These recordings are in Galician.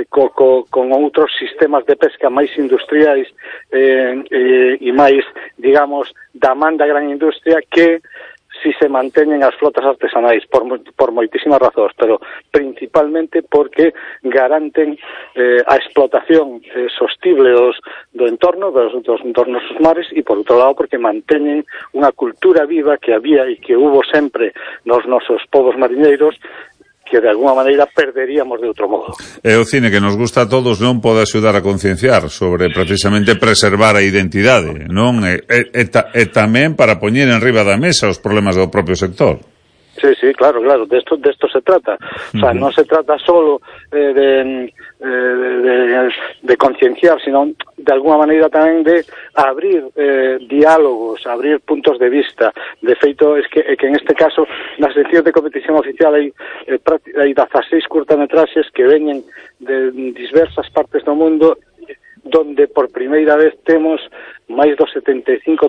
con outros sistemas de pesca máis industriais e máis, digamos, da man da gran industria que si se manteñen as flotas artesanais por moitísimas razóns, pero principalmente porque garanten a explotación sostible do entorno, dos entornos dos mares, e por outro lado porque manteñen unha cultura viva que había e que hubo sempre nos nosos povos mariñeiros, que de alguma maneira perderíamos de outro modo. E o cine que nos gusta a todos non pode axudar a concienciar sobre precisamente preservar a identidade, non? E tamén para poñer en riba da mesa os problemas do propio sector. Sí, claro, de esto se trata. O sea, non se trata solo de concienciar, sino de alguna maneira tamén de abrir diálogos, abrir puntos de vista. De feito, é que en este caso, nas seccións de competición oficial hai 16 curtametraxes que veñen de diversas partes do mundo, donde por primeira vez temos máis do 75%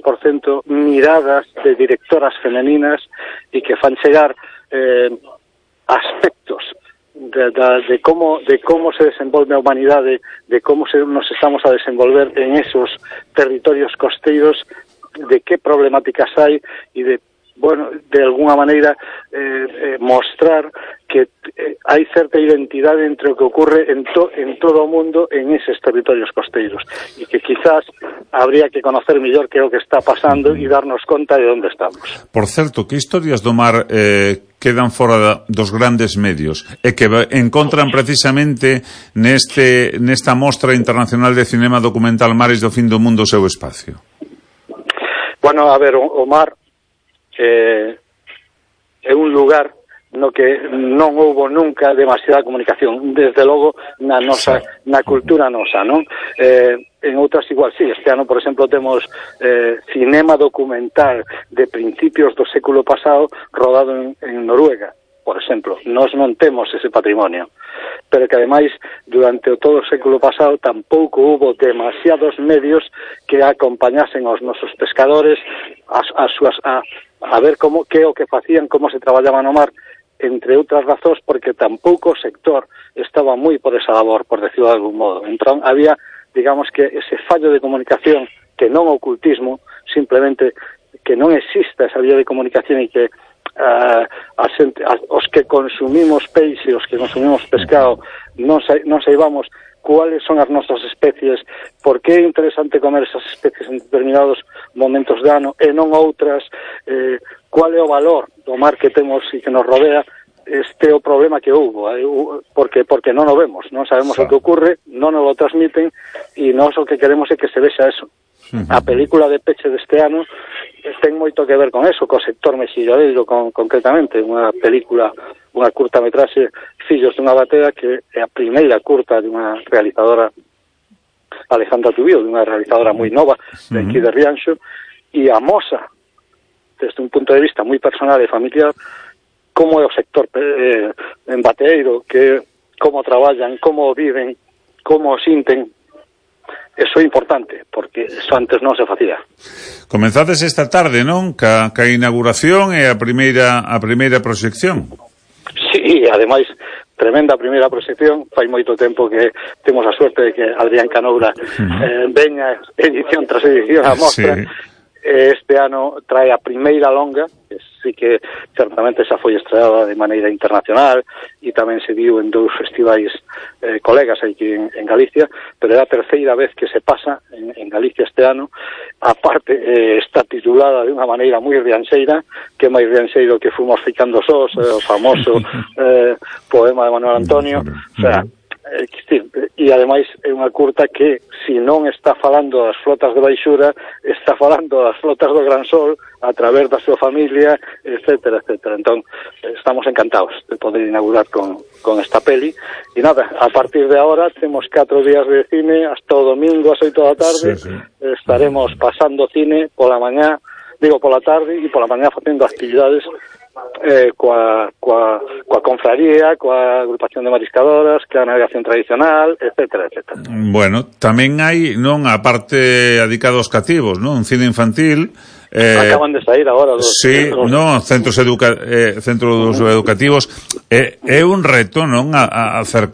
miradas de directoras femeninas e que fan chegar aspectos de como se desenvolve a humanidade, de como nos estamos a desenvolver en esos territorios costeiros, de que problemáticas hai e de alguna maneira mostrar que hai certa identidade entre o que ocorre en todo o mundo en eses territorios costeiros e que quizás habría que conocer mellor que é o que está pasando e darnos conta de onde estamos. Por certo, que historias do mar quedan fora dos grandes medios e que encontran precisamente nesta mostra internacional de cinema documental Mares do Fin do Mundo o seu espacio? Bueno, a ver, o mar é un lugar no que non houbo nunca demasiada comunicación, desde logo na cultura nosa, non? En outras igual, sí, este ano, por exemplo, temos cinema documental de principios do século pasado rodado en Noruega, por exemplo. Nós non temos ese patrimonio, pero que ademais durante todo o século pasado tampouco hubo demasiados medios que acompañasen aos nosos pescadores a ver que é o que facían, como se traballaba no mar, entre outras razóns porque tampouco o sector estaba moi por esa labor, por decirlo de algún modo. Entón había, digamos que ese fallo de comunicación, que non ocultismo, simplemente que non exista esa vía de comunicación e que os que consumimos peixe, os que consumimos pescado, non saibamos cuáles son as nosas especies, por que é interesante comer esas especies en determinados momentos de ano e non outras, cuál é o valor do mar que temos e que nos rodea. Este é o problema que houbo, porque non o vemos, non sabemos o que ocurre, non nos lo transmiten e nós o que queremos é que se vexa eso. A película de peche deste ano ten moito que ver con eso, co sector mexilloeiro concretamente, unha película, unha curtametraxe, Fillos dunha batea, que é a primeira curta de unha realizadora, Alejandra Tubío, de unha realizadora moi nova de aquí de Rianxo, e amosa desde un punto de vista moi personal e familiar como é o sector en bateeiro, como traballan, como viven, como o sinten. Eso é importante, porque eso antes non se facía. Comenzades esta tarde, non? Ca inauguración e a primeira proxección. Sí, ademais, tremenda primeira proxección. Fai moito tempo que temos a suerte de que Adrián Canoura veña edición tras edición a mostra. Sí. Este ano trae a primeira longa, que sí que certamente xa foi estreada de maneira internacional e tamén se viu en 2 festivais colegas aquí en Galicia, pero é a terceira vez que se pasa en Galicia este ano. Aparte, está titulada de unha maneira moi rianxeira, que máis rianxeiro que Fomos ficando sós, o famoso poema de Manuel Antonio. O sea, e ademais é unha curta que, se non está falando das flotas de baixura, está falando das flotas do Gran Sol a través da súa familia, etcétera. Entón, estamos encantados de poder inaugurar con esta peli. E nada, a partir de ahora temos 4 días de cine hasta o domingo ás 8 da tarde. Sí. Estaremos pasando cine pola tarde e pola mañá facendo actividades coa confraría, coa agrupación de mariscadoras, coa navegación tradicional, etcétera. Bueno, tamén hai, non, a parte dedicada aos cativos, non? Un cine infantil. Acaban de sair agora centros educativos. É un reto, non, a